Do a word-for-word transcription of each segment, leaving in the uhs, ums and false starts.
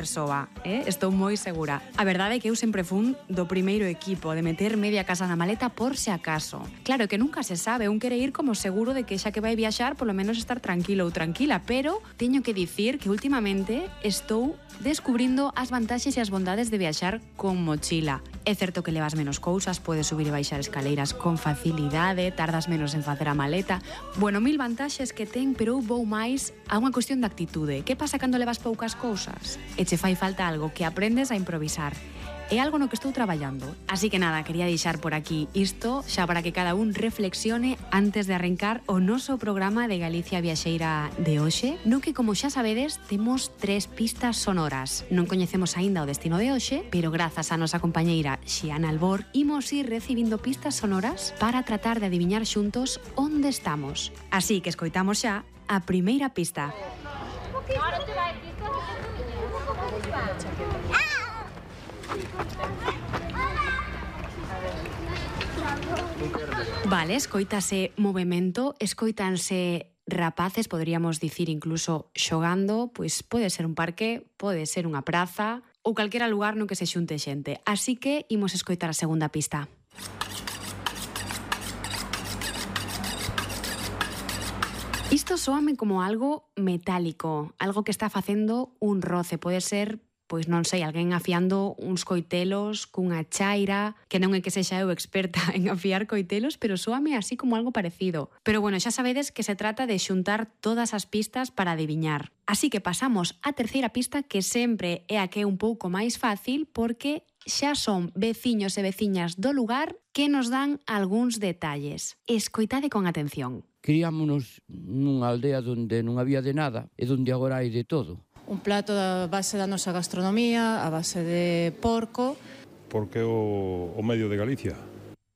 persoa, eh? Estou moi segura. A verdade é que eu sempre fun do primeiro equipo, de meter media casa na maleta por se acaso. Claro que nunca se sabe, un quere ir como seguro de que xa que vai viaxar, polo menos estar tranquilo ou tranquila, pero teño que dicir que últimamente estou descubrindo as vantaxes e as bondades de viaxar con mochila. É certo que levas menos cousas, podes subir e baixar escaleiras con facilidade, tardas menos en facer a maleta. Bueno, mil vantaxes que ten, pero eu vou máis a unha cuestión de actitude. Que pasa cando levas poucas cousas? E che fai falta algo que aprendes a improvisar. É algo no que estou traballando. Así que nada, quería deixar por aquí isto, xa para que cada un reflexione antes de arrancar o noso programa de Galicia Viaxeira de hoxe, no que, como xa sabedes, temos tres pistas sonoras. Non coñecemos aínda o destino de hoxe, pero grazas á nosa compañeira Xiana Albor, imos ir recibindo pistas sonoras para tratar de adiviñar xuntos onde estamos. Así que escoitamos xa a primeira pista. Vale, escoítase movimento, escoítanse rapaces, poderíamos dicir incluso xogando, pois pode ser un parque, pode ser unha praza ou calquera lugar no que se xunte xente. Así que imos escoitar a segunda pista. Isto soame como algo metálico, algo que está facendo un roce, pode ser, pois non sei, alguén afiando uns coitelos cunha chaira, que non é que sexa eu experta en afiar coitelos, pero soame así como algo parecido. Pero bueno, xa sabedes que se trata de xuntar todas as pistas para adiviñar. Así que pasamos á terceira pista, que sempre é a que é un pouco máis fácil, porque xa son veciños e veciñas do lugar que nos dan algúns detalles. Escoitade con atención. Criámonos nunha aldea onde non había de nada e onde agora hai de todo. Un plato da base da nosa gastronomía, a base de porco. Porque o, o medio de Galicia.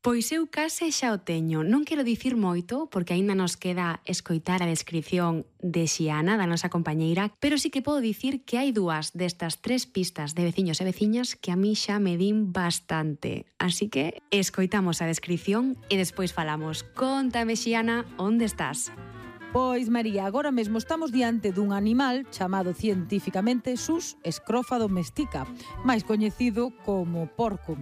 Pois eu case xa o teño. Non quero dicir moito, porque aínda nos queda escoitar a descripción de Xiana, da nosa compañeira, pero sí que podo dicir que hai dúas destas tres pistas de veciños e veciñas que a mí xa me din bastante. Así que escoitamos a descripción e despois falamos. Contame, Xiana, onde estás? Pois, María, agora mesmo estamos diante dun animal chamado científicamente Sus scrofa domestica, máis coñecido como porco.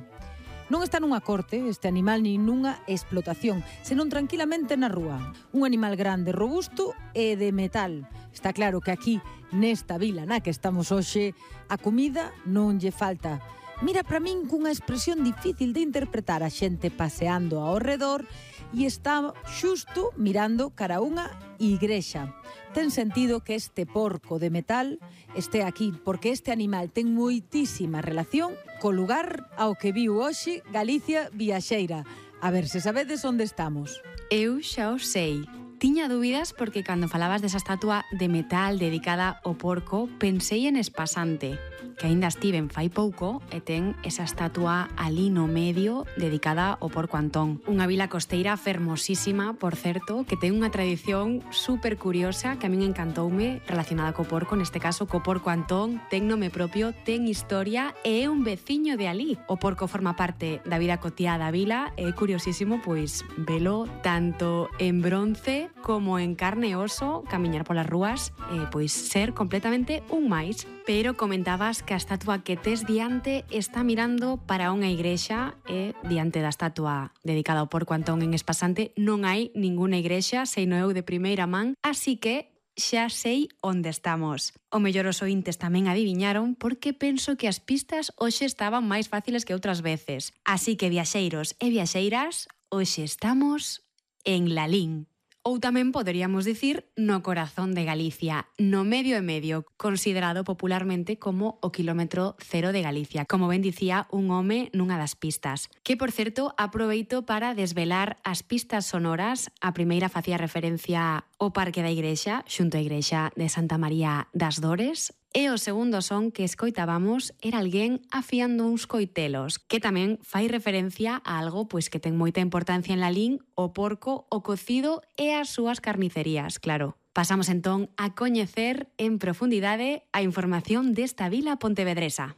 Non está nunha corte este animal nin nunha explotación, senón tranquilamente na rúa. Un animal grande, robusto e de metal. Está claro que aquí, nesta vila na que estamos hoxe, a comida non lle falta. Mira para min cunha expresión difícil de interpretar, a xente paseando ao redor e está xusto mirando cara a unha igrexa. Ten sentido que este porco de metal este aquí, porque este animal ten moitísima relación co lugar ao que viu hoxe Galicia Viaxeira. A ver se sabedes onde estamos. Eu xa o sei. Tiña dúbidas porque cando falabas desa estatua de metal dedicada ao porco, pensei en Espasante, que aínda estiven fai pouco e ten esa estatua ali no medio dedicada ao porco Antón. Unha vila costeira fermosísima, por certo, que ten unha tradición super curiosa que a min encantoume relacionada co porco, neste caso co porco Antón, ten nome propio, ten historia e é un veciño de ali. O porco forma parte da vida cotiá da vila e é curiosísimo pois velo tanto en bronce como en carne e oso, camiñar polas rúas, e pois ser completamente un máis. Pero comentabas que a estatua que tes diante está mirando para unha igrexa e diante da estatua dedicada ao porco Antón en Espasante non hai ninguna igrexa, sei no eu de primeira man, así que xa sei onde estamos. O mellor os ointes tamén adiviñaron porque penso que as pistas hoxe estaban máis fáciles que outras veces. Así que, viaxeiros e viaxeiras, hoxe estamos en Lalín. Ou tamén poderíamos dicir no corazón de Galicia, no medio e medio, considerado popularmente como o quilómetro cero de Galicia, como ben dicía un home nunha das pistas. Que, por certo, aproveito para desvelar as pistas sonoras. A primeira facía referencia ao Parque da Igrexa, xunto á Igrexa de Santa María das Dores, e o segundo son que escoitábamos era alguén afiando uns coitelos, que tamén fai referencia a algo pois que ten moita importancia en Lalín, o porco, o cocido e as súas carnicerías, claro. Pasamos entón a coñecer en profundidade a información desta vila pontevedresa.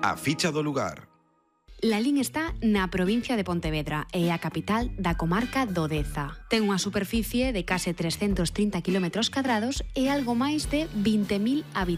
A ficha do lugar. Lalín está na provincia de Pontevedra e é a capital da comarca do Deza. Ten unha superficie de case trescentos trinta kilómetros cadrados e algo máis de vinte mil habitantes.